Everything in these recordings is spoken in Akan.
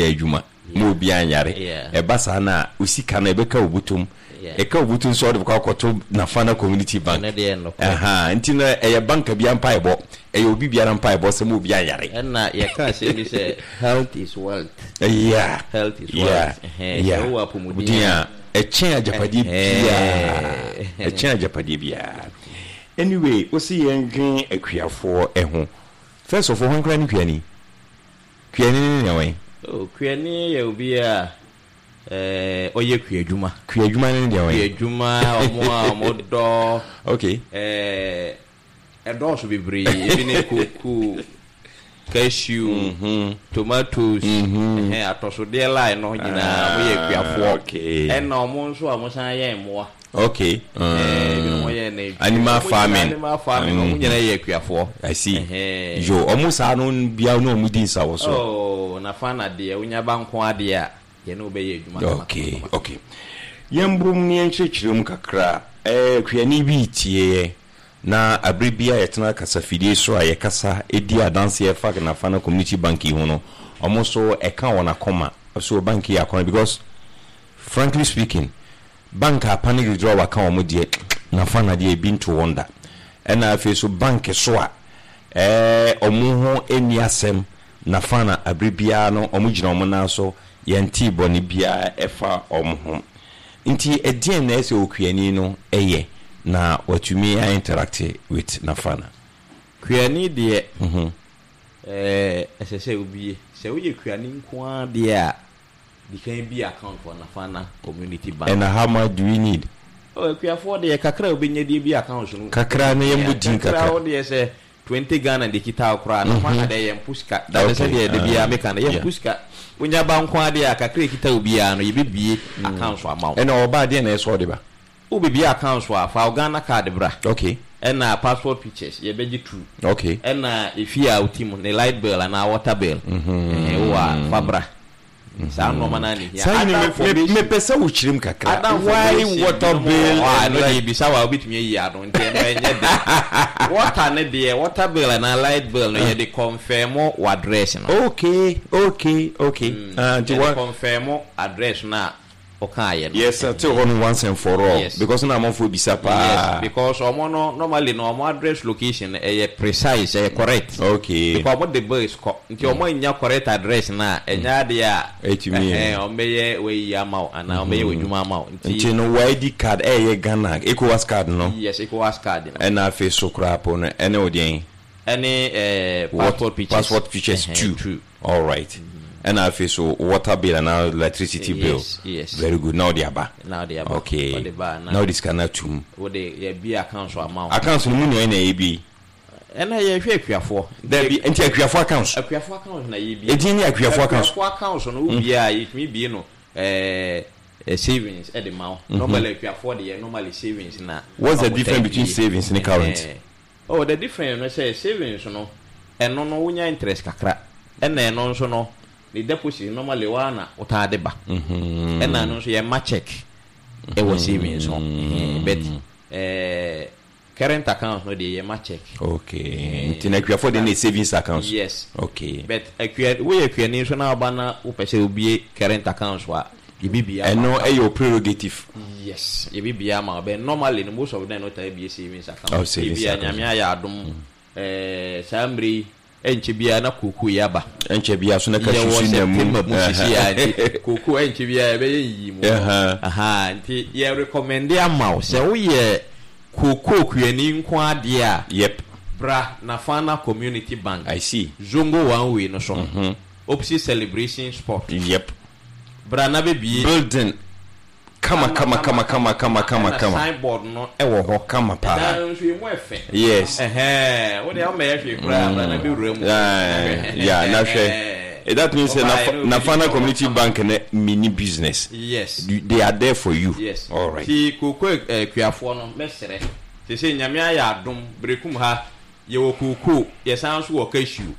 Yɛ adwuma ma obiara nyare. Ɛba saa no a, wo sika no ɛbɛka wo bɔtɔm. Ɛka wo bɔtɔm nso a, wode bɛkɔ akɔto Nafana Community Bank. Ɛno deɛ nokorɛ. Ahaa, nti no ɛyɛ bank biara mpaebɔ, ɛyɛ obi biara mpaebɔ sɛ ma obiara nyare. Ɛna yɛka asɛm bi sɛ health is wealth. Yeah. Health is Yeah. wealth. Ɛhɛn, sɛ Yeah. wowɔ apɔmuden Apɔmuden a. a, ɛkyɛn agyapadeɛ biara. Ɛhɛn. Ɛkyɛn agyapadeɛ biara. Anyway, wo se yɛndwen akuafoɔ ho. First of all, hwan koraa ne kuani? Kuani ne nea wɛn? Oh, kuani yɛ obi a eh, ɔyɛ kuadwuma. Kuadwuma ne deɛ wɛn? Kuadwuma, ɔmo a ɔmo dɔ. Okay. Eh, ɛdɔɔso bebree. Ebi ne koko, cashew, tomatoes, ɛhɛn, atɔsodeɛ line no nyinaa, ɔmo yɛ akuafoɔ. Okay. Ɛna ɔmo nso a ɔmo san yɛ mmoa. Okay. Ebinom yɛ nantwie. Animal Ɔmo nyinaa farming. Animal farming, ɔmo nyinaa yɛ akuafoɔ. I see. Ɛhɛn. Yo, ɔmo saa no bia ne ɔmo di nsawɔ so. Oh, Nafana deɛ, wonya ba nko ara deɛ a, yɛne wo bɛyɛ adwuma kama Okay, kama kama. okay. Yɛmbom na yɛnkyerɛkyerɛ mu kakra. Eh, kuani bi retie yɛn, na abere bi a yɛtena kasafidie so a yɛkasa di adanseɛ fa Nafana Community Bank yi ho no, ɔmo nso ɛka wɔn akoma. So bank yi yɛ akɔnɔ because frankly speaking, Bank a panic withdrawal ka wɔn deɛ nafa na deɛ ebi nto wɔn da. Ɛna afei so bank so a ɛɛ wɔn ho nni asɛm nafa na abere biara no wɔn gyina wɔn nan so yɛntee bɔne biara ɛfa wɔn ho. Nti ɛdeɛn na ɛsɛ okuani no yɛ na watumi a interact with nafa na? Kuani deɛ ɛɛ ɛsɛ sɛ wobie. Sɛ woyɛ kuani nko ara deɛ a Di kan bue account wɔ Nafana Community Bank. And how much do we need? Oh, akuafoɔ deɛ kakra a wobɛnya de abue account no. Kakra no yɛmmɔ din kakra. Kakra wo deɛ sɛ 20 Ghana de kita wo koraa, Nafana deɛ yɛmpo sika. That is sɛdeɛ da biara meka no, yɛmpo sika. Wonya ba nko ara deɛ a, kakra a ɛkita wo biara no, yɛbɛbue account ama wo. Ɛna ɔba a, deɛn na ɛsɛ sɛ ɔde ba? Wobɛbue account a, fa wo Ghana card bra. Okay. Ɛna passport pictures, yɛbɛgye two. Okay. Ɛna efie a wote mu, ne light bill anaa water bill, ɛhɛn, wowɔ a, fa bra. Saa nnoɔma no ara na ɛhia. Saa Other information. Mepɛ sɛ wokyerɛ mu kakra. Other Why information water binom wɔ bill hɔ a, and ɛno deɛ light? yɛbisa wo a wobɛtumi ayi ano nti ɛno ɛnyɛ den. Water no deɛ, water bill anaa light bill no yɛde confirm w'address no. Okay. Ah, nti Yɛde wa. confirm address no a wokaeɛ no. Yes, sɛ hɔ no once and for all. Yes. Because na amanfoɔ bisa Yes, paa. because ɔmo no normally no ɔmo address location no ɛyɛ precise, ɛyɛ correct. Okay. Because ɔmo de bills kɔ, nti ɔmo annya correct address no a, ɛnyɛ adeɛ a Ɛtumi. ɛhɛn ɔmo bɛyɛ wayi ama wo anaa ɔmo bɛyɛ w'adwuma ama wo. Nti. Nti no wo ID card ɛyɛ Ghana, ECOWAS card no. Yes, ECOWAS card no. Ɛna afei so koraa po no ɛne wo deɛn? Ɛne ɛɛ passport pictures. Passport pictures Ɛhɛn, two. two. Alright ɛna afei so water bill anaa electricity bill. Yes. Very good na wode aba. Na wode aba. Okay. Wode ba na. Na wode sika no atum. Wode yɛbue accounts ama wo. Accounts no mu nea na yɛbue? Ɛna yɛhwɛ akuafoɔ. Dabi nti akuafoɔ accounts. Akuafoɔ accounts na yɛbue. Edin ne akuafoɔ accounts. Akuafoɔ accounts no wobue a yɛtumi bue no ɛɛ savings ɛde ma wo. Normally akuafoɔ deɛ normally savings na. What's the difference between savings ne current? Oh the difference no sɛ savings no ɛno no wonya interest kakra ɛna ɛno nso no ne deposit normally woa na wotaa de ba ɛna ɛno nso yɛmma check ɛwɔ savings ho but eh, current account no deɛ yɛma check. Okay nti na akuafoɔ deɛ na savings account. Yes. Okay. But akua woyɛ akuani nso na woba na wopɛ sɛ wobie current account so a yɛbɛbie ama Ɛno ɛyɛ wo prerogative. Yes, yɛbɛbie ama wo but normally no most of them no taa bie savings account. Oh, savings Ebia account. Nyame ayɛ adom eh, saa mmerɛ yi ɛnkyɛ biara na kookoo yi aba. Ɛnkyɛ biara so na cashew Yɛwɔ so nam mu. September mu sisi a nti kookoo ɛnkyɛ biara yɛbɛyɛ nyiyimu no. Ahaa, nti yɛ recommend ama wo sɛ woyɛ kookoo kuani nko ara deɛ a, Yep. bra Nafana Community Bank, I see. Zongo one way no so, opposite Celebration Sport. Yep. Bra na bɛ bie. Building kama kama kama kama kama kama kama. Ɛna sign board no ɛwɔ hɔ. Kama paa. Ɛdan no nso emu ɛfɛ. Yes. Ɛhɛn wo deɛ ɔmɛ yɛ hwee koraa bra na bɛ wura mu. Yeah na hwɛ. That means sɛ Nafana Community Bank no mini business. Yes. They are there for you. Yes. Alright. Ti kooko akuafoɔ no mɛsrɛ. Sese Nyame ayɛ adom Berekum ha yɛwɔ kooko yɛsan nso wɔ cashew.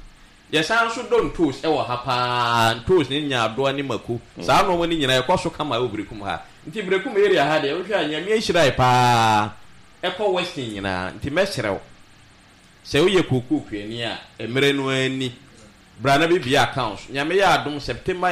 Yɛsan nso dɔ ntoos wɔ ha pa ara, ntoos ne nyaadoa ne mako, saa nnoɔma no nyinaa ɛkɔ so kama wɔ Berekum ha. Nti Berekum area ha deɛ wohwɛ a Nyame ahyira yɛ pa ara, ɛkɔ Western nyinaa. Nti mɛsrɛ wo, sɛ woyɛ kookoo kuani a, mmerɛ no ara ni, bra na bɛbue accounts. Nyame yɛ adom September.